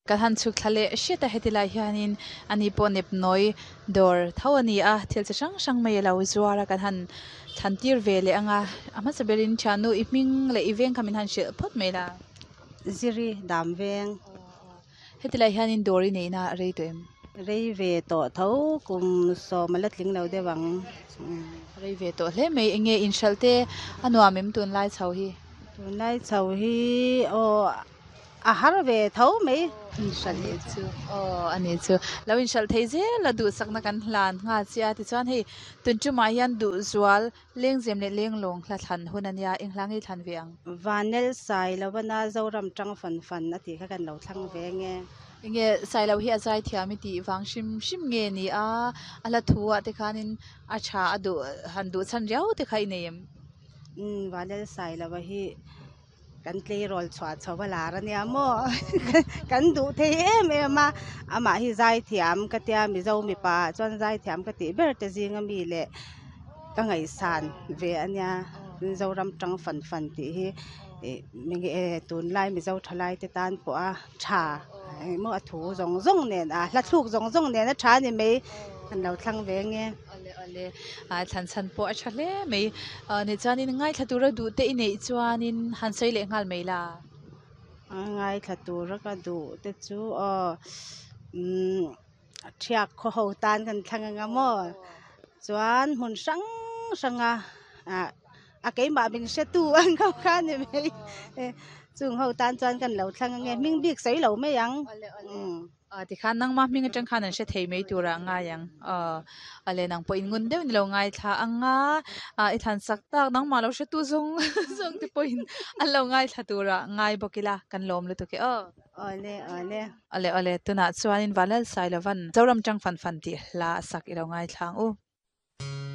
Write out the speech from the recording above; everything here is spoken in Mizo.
Kan han chhuk thla leh hret a heti lai hianin ani pawh nepnawi dawr tho a ni a thil chi hrang hrang mai alo zuar a kan han thlan tir ve leh ang a a hmasa berin thiannu i hming leh i veng kha min han hrilh phawt mai la. Ziri dam veng. Heti lai hianin dawr i neihna a rei tawh em? Rei ve tawh tho kum sawm a la tling lo deuh ang. Rei ve tawh hle mai eng nge inhralh te a nuam em tunlai chho hi? Tunlai chho hi aw A har ve tho mai. Inhralh leh chu aw a ni chu. Lo inhralh thei zel a duhsakna kan hlan nghal che a tichuan hei tun tumah hian duhzual lengzem leh lenglawng hla thlan hun a nia eng hla nge i thlan ve ang? Vanel sai lovana Zoram tang fan fan a tih kha kan lo thlang ve nge. Enge Sailo hi a zaithiam i tih vang hrim hrim nge ni a, a hla thu ah te khanin a tha a duh han duh chhan riau te kha i nei em? Umm Vanel Sailova hi Kan tleirawl chhuah chho a lar a nia maw kan duh thei em em a amah hi zaithiam ka tia mizo mipa ah chuan zaithiam ka tih ber te zinga mi leh ka ngaihsan ve a nia Mizoram tang fan fan tih hi ih tunlai mizo thalai te tan pawh a tha engemaw a thu zawng zawng nen a hla thluk zawng zawng nen a tha a ni mai an lo thlang ve nge. Awle awle ah thlan chhan pawh a tha hle mai ah ni chuanin ngaithla tura duh te i neih chuanin han sawi leh nghal mai la. A ngaithla tura ka duh te chu aw umm thiak khaw ho tan kan thlang anga maw chuan hmun hrang hrang a ah a keimah min hretu ang ho kha a ni mai chung ho tan chuan kan lo thlang ange hming bik sawi lo mai ang umm. Aw tikhan nangma hming atang khan an hre thei mai turah a ngai ang. Aw a le nang pawh in ngun deuh ni lo ngaithla ang a, ah i thlan sak tak nangmah lo hretu zawng zawng te pawhin an lo ngaithla turah ngai bawk ila kan lawm lutuk e aw. Awle awle. Awle awle tunah chuanin Vanlalsailovan Zoram tang fan fan tih hla a sak i lo ngaithla ang u.